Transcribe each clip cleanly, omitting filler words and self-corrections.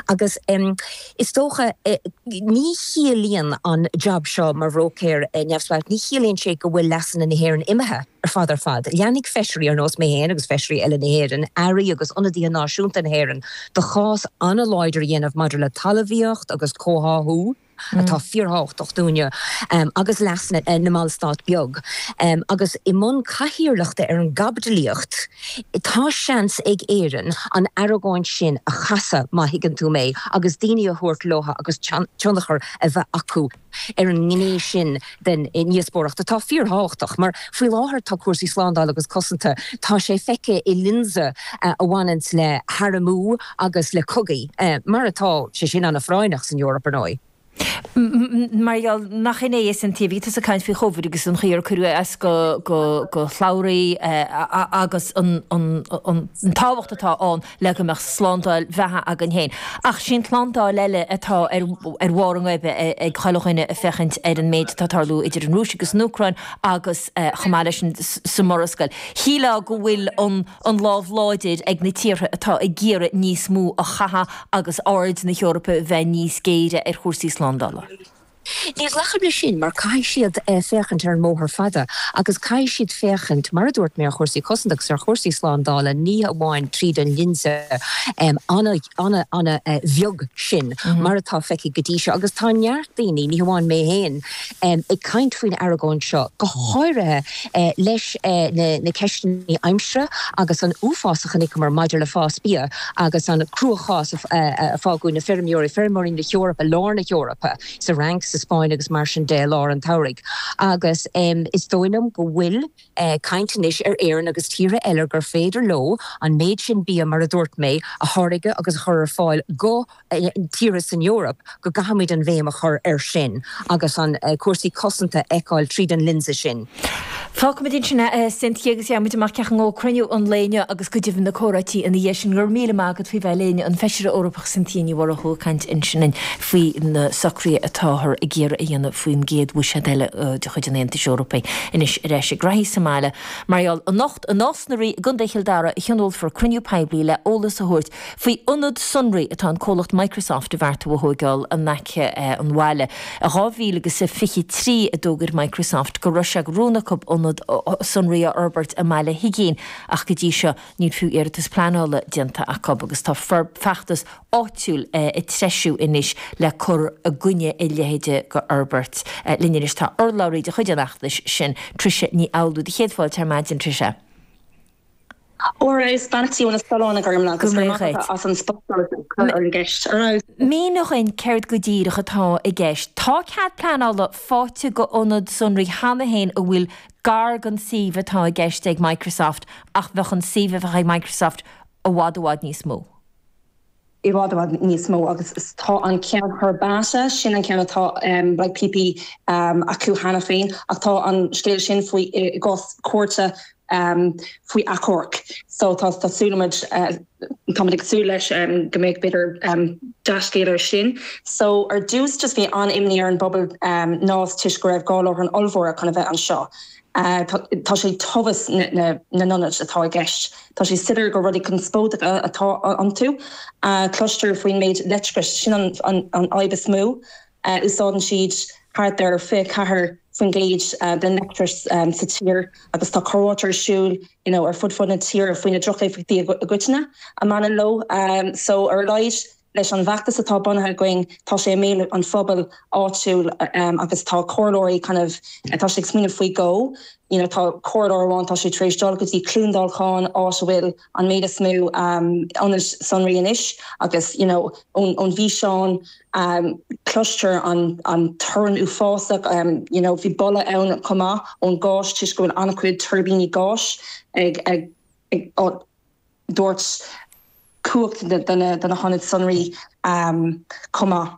Agus is dócha, ní chiallaíonn an jab seo mar bhróicéir neamhspleách, ní chiallaíonn sé go bhfuil leasanna na hÉireann imithe ar fad ar fad. Leanfaidh feisirí ar nós mé féin agus feisirí eile na hÉireann, airí agus ionadaithe náisiúnta na hÉireann, do chás an-láidir a dhéanamh maidir le talmhaíocht agus comhtháthú. atá fíorthábhachtach dúinne, agus leasanna na mballstát beag. Agus i mbun cathaoirleachta ar an gcaibidlíocht, tá seans ag Éirinn an argóint sin a chasadh, má thuigeann tú mé, agus daoine a thabhairt leo agus tionchar a bheith acu ar an ngné sin den ndíospóireacht atá fíorthábhachtach. Mar faoi láthair tá cúrsaí slándála agus cosanta, tá sé feicthe i lionsa a bhaineanns le harmú, agus le cogaí, mar atá sé sin an-phráinneach san Eoraip, ar ndóigh. Mar gheall nach in é a Cynthia, bhí tusa ag caint faoi Chovid agus an chaoi ar cuireadh as go shlabhraí agus an tábhacht atá ann le go mbeadh slándáil bheatha againn féin. Ach sin tslándáil eile atá ar bharr a ngoibe ag chuile dhuine ag féachaint ar an méid atá ag tarlú idir an Rúis agus an Úcráin agus chomh maith leis sin sa Mhurascaill. Shílfeá go bhfuil an an lámh láidir ag na tíortha atá ag iarraidh níos mó a chaitheamh agus aird na hEorpa bheith níos géire ar chúrsaí slándála. Ní ghlacaim leis sin mar caithfidh siad féachaint ar an mbóthar fada agus caithfidh siad féachaint, mar a dúirt mé, ar chúrsaí cosanta agus ar chúrsaí slándála, ní hamháin tríd an lionsa an-an-an-bheag sin mar atá feicthe go dtí seo. Agus tá neart daoine, ní hamháin mé féin, ag caint faoin argóint seo, go háirithe leis na ceisteanna aimsire agus an uafás a chonaiceamar maidir le fás bia agus an cruachás a fágadh na feirmeoirí, feirmeoirí na hEorpa, lár na hEorpa, sa Fhrainc, sa Spáinn agus mar sin de i lár an tsamhraidh. Agus is dóigh liom go bhfuil caint anois ar Éirinn agus tíortha eile gur féidir leo an méid sin bia, mar a dúirt mé, a tháirgeadh agus a chur ar fáil go tíortha san Eoraip go gcaithfimid an bhéim a chur air sin agus an cúrsaí cosanta a fheiceáil tríd an lionsa sin. Fágfaimid ansin é, a Cynthia, agus gheobhaimid amach cén chaoi a ngabhfaidh cruinniú an lae inniu agus go deimhin na comhráití ina dhiaidh sin. Go raibh míle maith agat faoi bheith linn, an Feisire Eorpach Cynthia Ní Mhurchú ag caint ansin faoi na socruithe atáthar ag iarraidh a dhéanamh faoin gcéad bhuiséad eile de chuid an Aontais Eorpaigh. Anois ar ais ag reathaí sa mbaile. Mar gheall, anocht i Nás na Rí i gContae Chill Dara a thionólfar cruinniú poiblí le eolas a thabhairt Faoi ionad sonraí atá an comhlacht Microsoft a bheartú a thóigeáil in aice an bhaile. I 2023 a d'fhógair Microsoft go raibh sé de rún acu ionad sonraí a fhorbairt i mBaile Huigín ach go dtí seo níl fiú iarratas pleanála déanta acu agus tá feachtas áitiúil ag treisiú anois le cur i gcoinne a leithéide de fhorbairt. Linn anois tá urlabhraí de chuid an fheachtais sin, Tricia Ní Fhoghlú. Do chéad fáilte ar maidin, Tricia. Ar fheabhas, beannachtaí ó na Solláin a Ghormfhlaith agus go raibh maith agat as an spotsolas a chur ar an gceist. Ar fheabhas. Mínigh dhuinn céard go díreach atá i gceist. Tá cead pleanála faighte go ionad sonraí cheana féin a bhfuil gar don suíomh atá i gceist ag Microsoft ach bheadh an suíomh a bheadh ag Microsoft i bhfad i bhfad níos mó. i bhfad i bhfad níos mó agus tá an ceann Herbata, sin an ceann atá like PP acu cheana féin ach tá an scéal sin faoi i gcás cúirte faoi achomharc so tá tá súil muid táimid ag súil leis go mbeidh b'fhéidir dea-scéal ar sin. So ar dtús just bhí an-imní ar an bpobal Nás toisc go raibh 2 láithreán ollmhóra chun a bheith anseo. Tá sé tomhas na n-ionad atá i gceist. Tá sé soiléir gur rudaí conspóideacha atá iontu. Cloistear faoin méid leictreachais, sin an fhadhb is mó. Úsáideann siad thart ar 24% den leictreachas sa tír agus tá comhráite ar siúl you know ar fud fud na tíre faoi na drochéifeachtaí i gcoitinne a mbaineann leo. So ar a laghad Leis an bhfeachtas atá bunaithe againn, tá sé i mbéal an phobail áitiúil agus tá comhairleoirí kind of, tá siad ag smaoineamh faoi dhó. You know tá comhairleoir amháin, tá sé tar éis dul go dtí Cluain Dolcáin, áit a bhfuil an méid is mó ionaid sonraí anois agus you know ón ón bhfíseán cloistear an an torann uafásach, you know bhí boladh ann chomh maith ón gás toisc go bhfuil an-chuid tuirbíní gáis ag ag ag dtabhairt cumhacht do na hionaid sonraí chomh maith.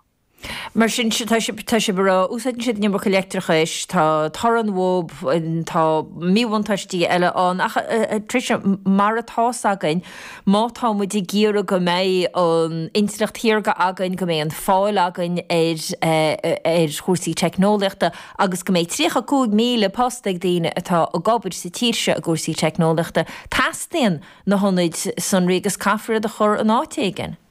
Mar sin, tá sibh ag rá, úsáideann siad an iomarca leictreachais, tá torann uathu, tá míbhuntáistí eile ann, ach Tricia, mar atá's againn, má tá muid ag iarraidh go mbeidh an intleacht shaorga againn, go mbeidh an fáil againn ar ar chúrsaí teicneolaíochta agus go mbeidh 35,000 post ag daoine atá ag obair sa tír seo i gcúrsaí teicneolaíochta, teastaíonn na hionaid sonraí agus caithfear iad a chur in áit éigin.